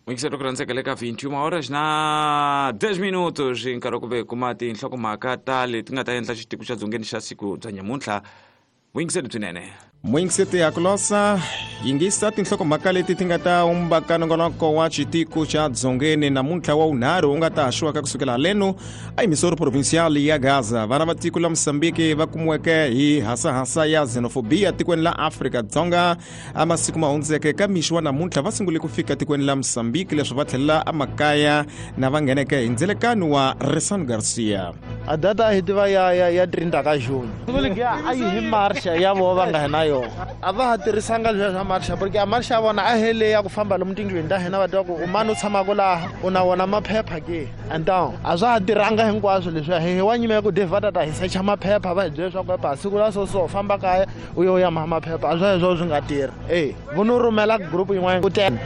Muyingiseri ku rhandzeka le ka 21 horas na 10 minutos hi nkarhi wa ku ve kuma tinhlokomhaka ta leti nga ta endla xitiko xa dzongeni xa siku bya nyamuntlha. Vuyingiseri byinene. Muyingiseti ya kulosa, yingisa tinhlokomhaka leti ti nga ta umbaka nongonoko wa xitiko xa dzongeni namuntlha wa vunharhu wu nga ta haxiwaka kusukela haleno emisoro provincial ya Gaza. Vana va tiko la Mosambiki va kumiweke hi hasahasa ya xenophobia tikweni la Afrika Dzonga a masiku ma hundzeke ka mixo wa namuntlha va sungule ku fika tikweni la Mosambiki leswi va tlhelela emakaya na va ngheneke hi ndzelekano wa Resan Garcia. A data a hi tiva ya 30 ka June. Siku legiya a yi hi marsha ya voho va nga hi na yona. A va ha tirhisanga leswiya swa marsha porque a marsha ya vona a hi leyi ya ku famba lomu tindlwini ta hina va tiva ku u mani u tshamaka laha u na wona maphepha ke. Então a swa ha tirhanga hinkwaswo leswiya hi wa nyima ya ku Dave va ta ta hi secha maphepha va hi byela leswaku epa siku la so so famba kaya u yo ya maha maphepha a swa heswo swi nga tirhi. E vo no rhumela group yin'wana ku tele.